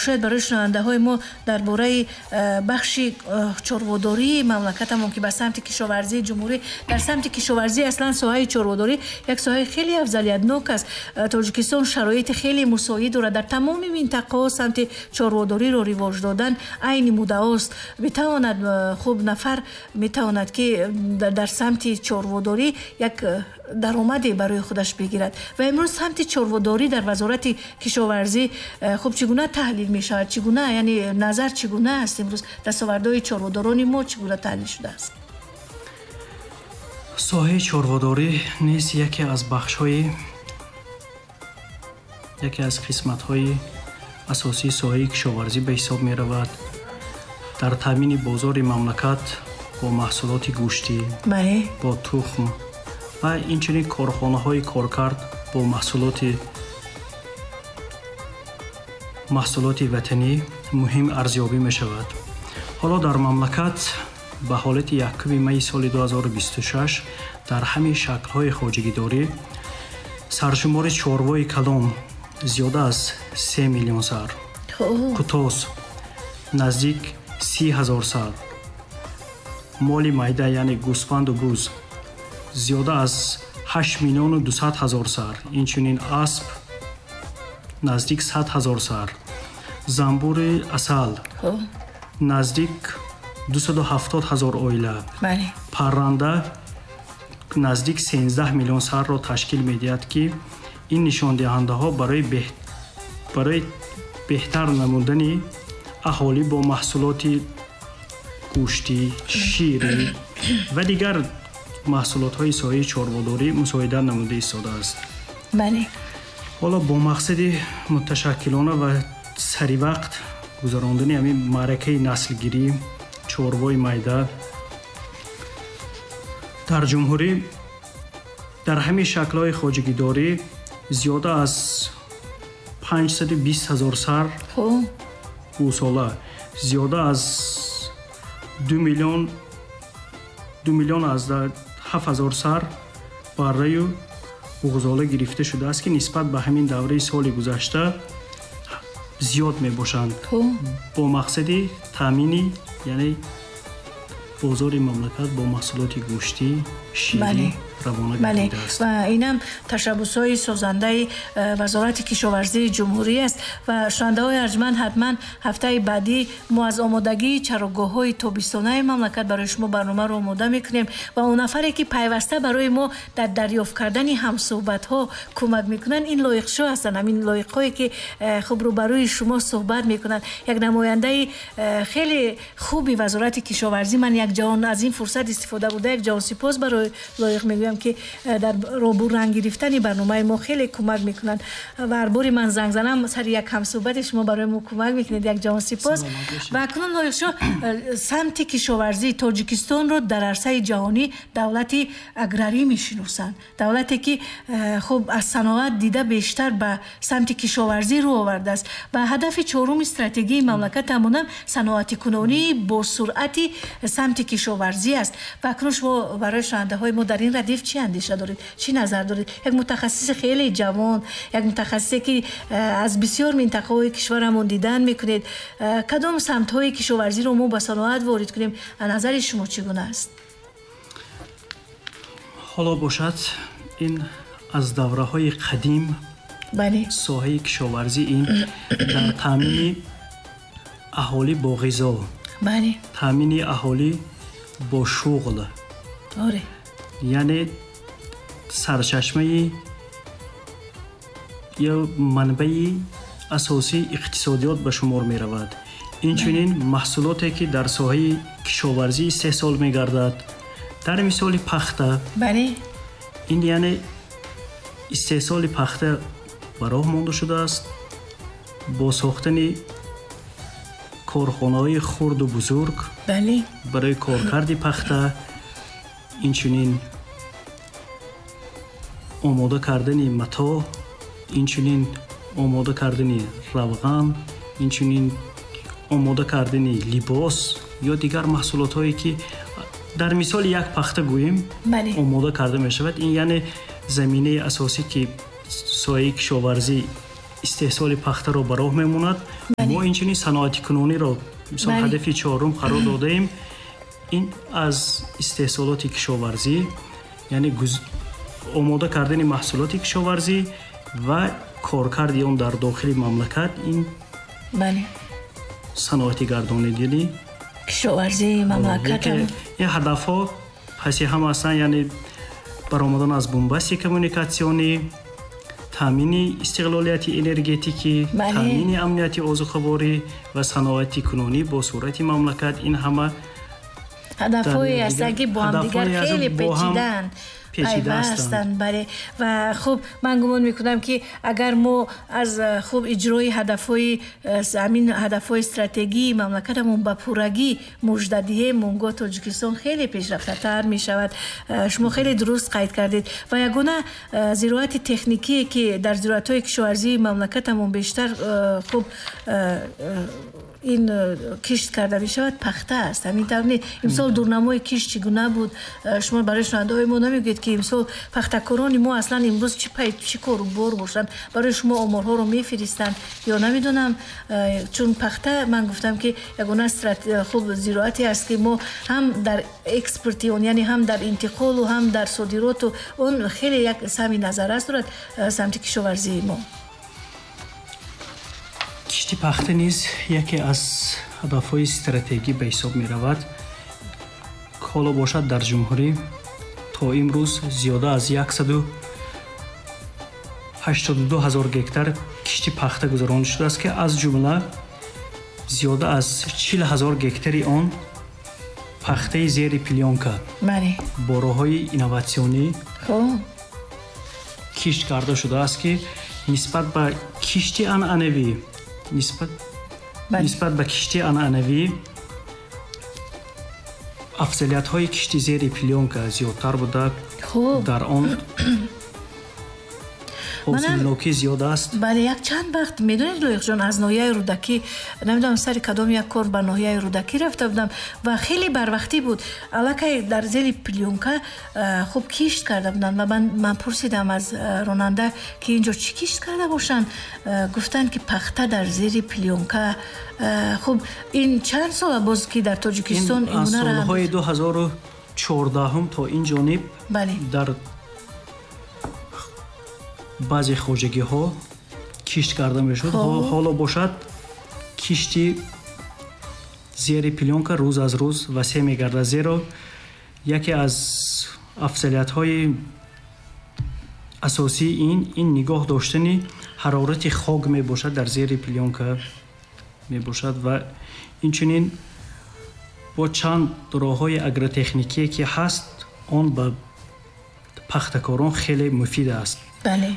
Шояд барои шунавандаҳои мо дар бораи бахши чорводории мамлакатамон, ки ба самти кишоварзии ҷумҳурӣ, дар самти кишоварзӣ аслан соҳаи чорводорӣ як соҳаи хеле афзалиятнок аст. Тоҷикистон шароити хеле мусоид дорад, дар тамоми минтақаҳо самти чорводориро ривоҷ додан айни муддаост. Метавонад хуб нафар метавонад, ки дар самти чорводорӣ як даромаде барои худаш бигирад. Ва имрӯз самти чорводорӣ дар Вазорати кишоварзӣ хуб чӣ гуна таҳлил мешавад, чӣ гуна, яъне назар чӣ гуна аст? Имрӯз дастовардҳои чорводорони мо чӣ гуна таҳлил шудааст? Соҳаи чорводорӣ низ яке аз бахшҳои, яке аз қисматҳои асосии соҳаи кишоварзӣ ба ҳисоб меравад. Дар таъмини бозори мамлакат бо маҳсулоти гӯштӣ, бо тухм ва инчунин корхонаҳои коркард бо маҳсулоти ватанӣ муҳим арзёбӣ мешавад. Ҳоло дар мамлакат ба ҳолати 1 майи соли 2026 дар ҳамин шаклҳои хоҷагидорӣ саршумори чорвои калон зиёда аз 3 миллион сар, қутос наздик 30 ҳазор сар, моли майда, яъне гӯсфанду буз зиёда аз 8 миллиону 200 ҳазор сар, инчунин асп наздик 100 ҳазор сар, занбури асал наздик 270 ҳазор оила, парранда наздик 13 миллион сарро ташкил медиҳад, ки ин нишондиҳандаҳо барои беҳтар намудани аҳолӣ бо маҳсулоти гӯштӣ, ширӣ ва дигар маҳсулотҳои соҳаи чорводорӣ мусоидат намуда истодааст. Ҳоло бо мақсади муташаккилона ва саривақт гузарондани ҳамин маъракаи наслгирӣ чорвои майда дар ҷумҳурӣ дар ҳамин шаклҳои хоҷагидорӣ зиёда аз 520 ҳазор сар гӯсола, зиёда аз 2 миллион аз 7 ҳазор сар барраю буғзола гирифта шудааст, ки нисбат ба ҳамин давраи соли гузашта зиёд мебошанд, бо мақсади таъмини, яъне бозори мамлакат бо маҳсулоти гӯштӣ, ширӣ равона гардидааст. Ва инам ташаббусҳои созандаи Вазорати кишоварзии ҷумҳурӣ аст. Ва шунавандаҳои арҷманд, ҳатман ҳафтаи баъдӣ мо аз омодагии чарогоҳҳои тобистонаи мамлакат барои шумо барномаро омода мекунем ва он нафаре ки пайваста барои мо дар дарёфт кардани ҳамсӯҳбатҳо кӯмак мекунанд, ин лоиқшо ҳастанд, ҳамин лоиқҳое ки хуб рӯбарӯи шумо суҳбат мекунанд. Як намояндаи хеле хуби Вазорати кишоварзӣ, ман як ҷавон аз ин фурсат истифода бурда як ҷавон сипос барои лоиқ мегӯям, ки дар робуранг гирифтани барномаи мо хеле кӯмак мекунанд ва ҳар бори ман занг занам сари як ҳамсӯҳбати шумо барои мо кӯмак мекунед. Як ҷавон сипос. Ва акнун лоиқшо, самти кишоварзии Тоҷикистонро дар арсаи ҷаҳонӣ давлати аграрӣ мешиносанд, давлате ки хуб аз саноат дида бештар ба самти кишоварзӣ рӯ овардааст ва ҳадафи чоруми стратегияи мамлакат ҳамонам саноатикунонии бо суръати самти кишоварзӣ аст. Ва акнун шумо барои шунавандаҳои мо дар ин радиф чӣ андеша доред, чӣ назар доред? Як мутахассиси хеле ҷавон, як мутахассисе ки аз бисёр минтақаҳои кишварамон дидан мекунед, кадом самтҳои кишоварзиро мо ба саноат ворид кунем? Назари шумо чӣ гуна аст? Ҳоло бошад, ин аз давраҳои қадим соҳаи кишоварзӣ ин дар таъмини аҳолӣ бо ғизо, таъмини аҳолӣ бо шуғл, яъне сарчашмаи ё манбаи асосии иқтисодиёт ба шумор меравад. Инчунин маҳсулоте ки дар соҳаи кишоварзӣ истеҳсол мегардад, дар мисоли пахта, ин яъне истеҳсоли пахта ба роҳ монда шудааст бо сохтани корхонаҳои хурду бузург барои коркарди пахта, инчунин омода кардани матоъ, инчунин омода кардани равған, инчунин омода кардани либос ё дигар маҳсулотҳое ки дар мисоли як пахта гӯем омода карда мешавад. Ин яъне заминаи асосӣ ки соҳаи кишоварзӣ Истеҳсоли пахтаро ба роҳ мемонад. Мо инчунин саноатикунониро мисол ҳадафи чорум қарор додаем. Ин аз истеҳсолоти кишоварзӣ, яъне омода кардани маҳсулоти кишоварзӣ ва коркарди он дар дохили мамлакат, ин саноати гардонидани кишоварзии мамлакат. Ин ҳадафҳо паси ҳам ҳастанд, яъне баромадан аз бунбасти коммуникатсионӣ, таъмини истиқлолияти энергетикӣ, таъмини амнияти озуқаворӣ ва саноати кунонӣ бо суръати мамлакат. Ин ҳама ҳадафҳое ҳастанд, ки бо ҳамдигар хеле печидаанд, пайвастанд. Бале, ва хуб, ман гумон мекунам, ки агар мо аз хуб иҷрои ҳадафҳои ҳамин ҳадафҳои стратегии мамлакатамон ба пуррагӣ мужда диҳем, он гоҳ Тоҷикистон хеле пешрафтатар мешавад. Шумо хеле дуруст қайд кардед. Ва ягона зироати техникие, ки дар зироатҳои кишоварзии мамлакатамон бештар хуб ин кишт карда мешавад, пахта аст. Ҳамин тавр не? Имсол дурнамои кишт чӣ гуна буд? Шумо барои шунавандаҳои мо намегӯед, ки имсол пахтакорони мо аслан имрӯз чӣ пай чӣ кору бор бошанд? Барои шумо оморҳоро мефиристанд ё намедонам? Чун пахта, ман гуфтам, ки ягона хуб зироате аст, ки мо ҳам дар экспорти он, яъне ҳам дар интиқолу ҳам дар содироту он хеле як саҳми назаррас дорад самти кишоварзии мо. Кишти пахта низ яке аз ҳадафҳои стратегӣ ба ҳисоб меравад. Ҳоло бошад, дар ҷумҳурӣ то имрӯз зиёда аз 182 ҳазор гектар кишти пахта гузаронида шудааст, ки аз ҷумла зиёда аз 40 ҳазор гектари он пахтаи зери плёнка бо роҳҳои инноватсионӣ кишт карда шудааст, ки нисбат ба кишти анъанавӣ афзалиятҳои кишти зери плёнка зиёдтар буда, дар он ҳосилнокӣ зиёд аст. Бале, як чанд вақт, медонед, Лоиқҷон, аз ноҳияи Рӯдакӣ, намедонам, сари кадом як кор ба ноҳияи Рӯдакӣ рафта будам ва хеле барвақтӣ буд, аллакай дар зери плёнка хуб кишт карда буданд. Ва ман пурсидам аз ронанда, ки инҷо чӣ кишт карда бошанд. Гуфтанд, ки пахта дар зери плёнка. Хуб, ин чанд сола боз, ки дар Тоҷикистон аз солҳои 2014-ум то ин ҷониб дар баъзе хоҷагиҳо кишт карда мешуд. Ҳоло бошад, кишти зери плёнка рӯз аз рӯз васеъ мегардад, зеро яке аз афзалиятҳои асосии ин нигоҳ доштани ҳарорати хок мебошад, дар зери плёнка мебошад. Ва инчунин бо чанд роҳҳои агротехникие, ки ҳаст, он ба пахтакорон хеле муфид аст.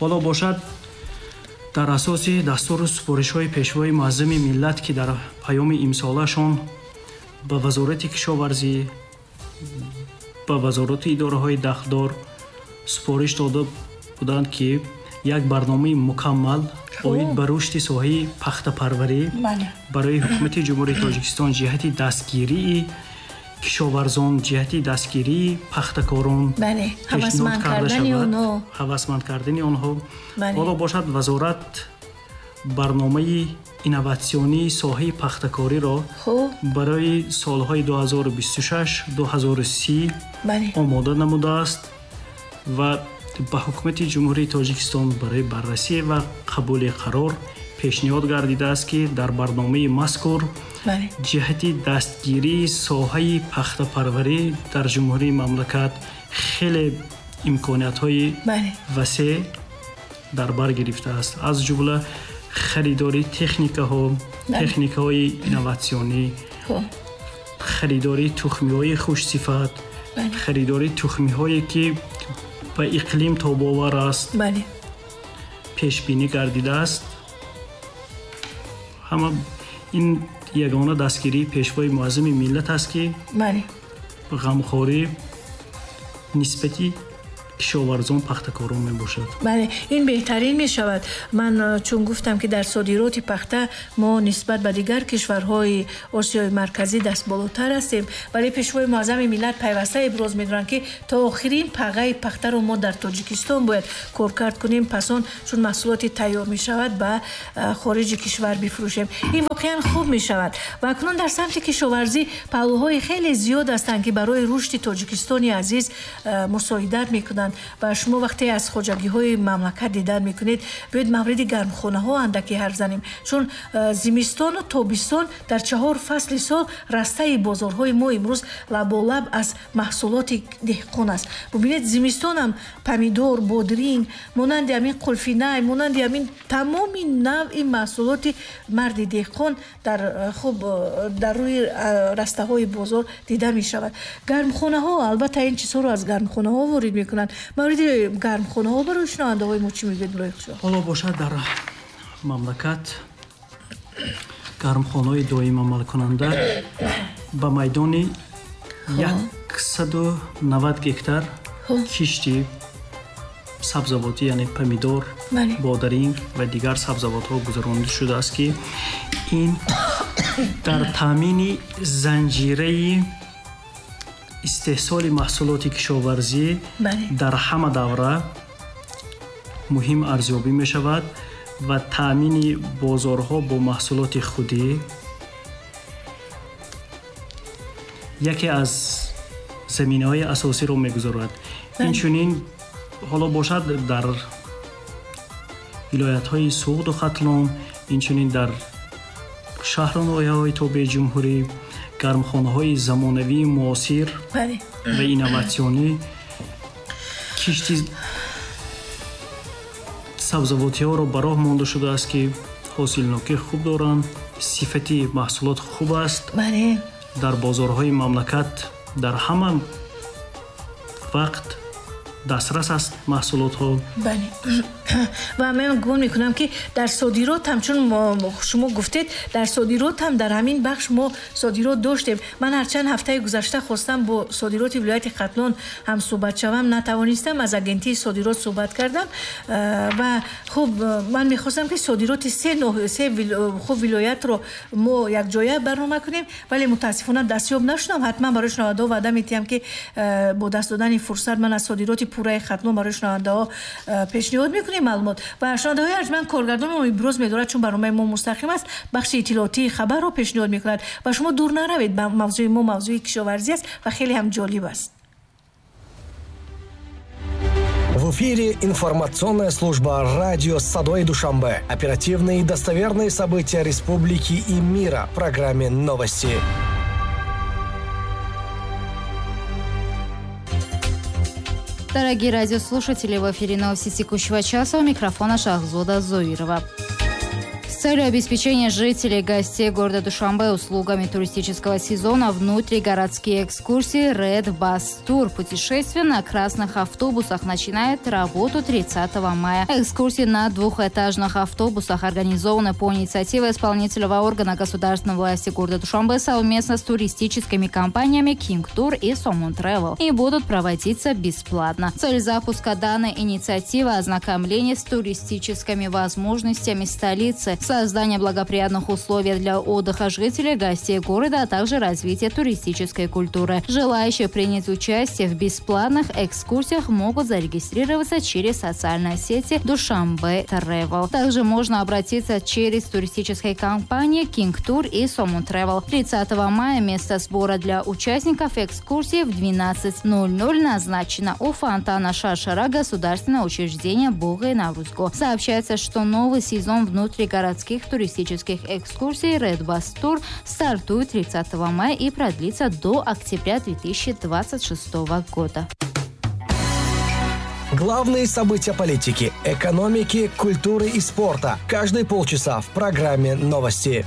Ҳоло бошад, дар асоси дастуру супоришҳои Пешвои муаззами миллат, ки дар паёми имсолашон ба Вазорати кишоварзӣ, ба вазорату идораҳои дахлдор супориш дода буданд, ки як барномаи мукаммал оид ба рушди соҳаи пахтапарварӣ барои Ҳукумати Ҷумҳурии Тоҷикистон ҷиҳати дастгирии кишоварзон, ҷиҳати дастгирии пахтакорон пешниҳод карда шавад, ҳавасманд кардани онҳо. Ҳоло бошад, вазорат барномаи инноватсионии соҳаи пахтакориро барои солҳои 2026-2030 омода намудааст ва ба Ҳукумати Ҷумҳурии Тоҷикистон барои баррасӣ ва қабули қарор пешниҳод гардидааст, ки дар барномаи мазкур ҷиҳати дастгирии соҳаи пахтапарварӣ дар ҷумҳурии мамлакат хеле имкониятҳои васеъ дар бар гирифтааст, аз ҷумла харидории техникаҳо, техникаҳои инноватсионӣ, харидории тухмиҳои хушсифат, харидории тухмиҳое, ки ба иқлим тобовар аст, пешбинӣ гардидааст. Ҳама ин ягона дастгирии Пешвои муаззами миллат аст, ки ғамхорӣ нисбати кишоварзон, пахтакорон мебошад. Бале, ин беҳтарин мешавад. Ман чун гуфтам, ки дар содироти пахта мо нисбат ба дигар кишварҳои Осиёи Марказӣ дастболотар ҳастем, вале Пешвои Муаззами миллат пайваста иброз медоранд, ки то охирин пағаи пахтаро мо дар Тоҷикистон бояд коркард кунем, пас он чун маҳсулоти тайёр мешавад, ба хориҷи кишвар бифурӯшем. Ин воқеан хуб мешавад. Ва акнун дар самти кишоварзӣ паҳлӯҳои хеле зиёд ҳастанд, ки барои рушди Тоҷикистони азиз мусоидат мекунанд. Ва шумо вақте аз хоҷагиҳои мамлакат дидан мекунед, биёед мавриди гармхонаҳо андаке ҳарф занем, чун зимистону тобистон дар 4 фасли сол растаи бозорҳои мо имрӯз лаболаб аз маҳсулоти деҳқон аст. Бубинед, зимистонам помидор, бодринг, монанди ҳамин қулфинай, монанди ҳамин тамоми навъи маҳсулоти марди деҳқон дар хуб дар рӯи растаҳои бозор дида мешавад. Гармхонаҳо, албатта, ин чизҳоро аз гармхонаҳо ворид мекунанд. Мавриди гармхонаҳо барои шунавандаҳои мо чӣ мегӯед, Лоиқшоҳ? Ҳоло бошад, дар мамлакат гармхонаҳои доим амалкунанда ба майдони 190 гектар кишти сабзавотӣ, яъне помидор, бодаринг ва дигар сабзавотҳо гузаронида шудааст, ки ин дар таъмини занҷираи истеҳсоли маҳсулоти кишоварзӣ дар ҳама давра муҳим арзёбӣ мешавад ва таъмини бозорҳо бо маҳсулоти худӣ яке аз заминаҳои асосиро мегузорад. Инчунин ҳоло бошад, дар вилоятҳои Суғду Хатлон, инчунин дар шаҳру ноҳияҳои тобеи ҷумҳурӣ гармхонаҳои замонавии муосир ва инноватсионӣ кишти сабзавотиҳоро ба роҳ монда шудааст, ки ҳосилнокӣ хуб доранд, сифати маҳсулот хуб аст, дар бозорҳои мамлакат дар ҳама вақт дастрас аст маҳсулотҳо. Бале. Ва ман гумон мекунам, ки дар содирот ҳам, чун шумо гуфтед, дар содирот ҳам дар ҳамин бахш мо содирот доштем. Ман ҳарчанд ҳафтаи гузашта хостам бо содироти вилояти Хатлон ҳам суҳбат шавам, натавонистам. Аз агентии содирот суҳбат кардам ва хуб, ман мехостам, ки содироти се хуб вилоятро мо якҷоя барнома кунем, вале мутаассифона дастёб нашудам. Ҳатман барои шунавандаҳо ваъда медиҳам, ки бо даст додани фурсат ман аз содироти пурраи Хатлон барои шунавандаҳо пешниҳод мекунем маълумот. Ва шунавандаҳои арҷманд, коргардони мо иброз медорад, чун барномаи мо мустақим аст, бахши иттилоотии хабарро пешниҳод мекунад ва шумо дур наравед. Мавзӯи мо мавзӯи кишоварзӣ аст ва хеле ҳам ҷолиб аст. В эфире информационная служба радио «Садои Душанбе». Оперативные и достоверные события республики и мира в программе «Новости». Дорогие радиослушатели, в эфире новости текущего часа, у микрофона Шахзода Зоирова. С целью обеспечения жителей и гостей города Душанбе услугами туристического сезона внутригородские экскурсии Red Bus Tour. Путешествие на красных автобусах начинает работу 30 мая. Экскурсии на двухэтажных автобусах организованы по инициативе исполнительного органа государственной власти города Душанбе совместно с туристическими компаниями King Tour и Somon Travel и будут проводиться бесплатно. Цель запуска данной инициативы – ознакомление с туристическими возможностями столицы, создание благоприятных условий для отдыха жителей, гостей города, а также развитие туристической культуры. Желающие принять участие в бесплатных экскурсиях могут зарегистрироваться через социальные сети Душанбе Travel. Также можно обратиться через туристические компании King Tour и Somon Travel. 30 мая место сбора для участников экскурсии в 12:00 назначено у фонтана Шаршара, государственное учреждение Бога и Наврузго. Сообщается, что новый сезон внутригородских туристических экскурсий Red Bus Tour стартует 30 мая и продлится до октября 2026 года. Главные события политики, экономики, культуры и спорта. Каждые полчаса в программе «Новости».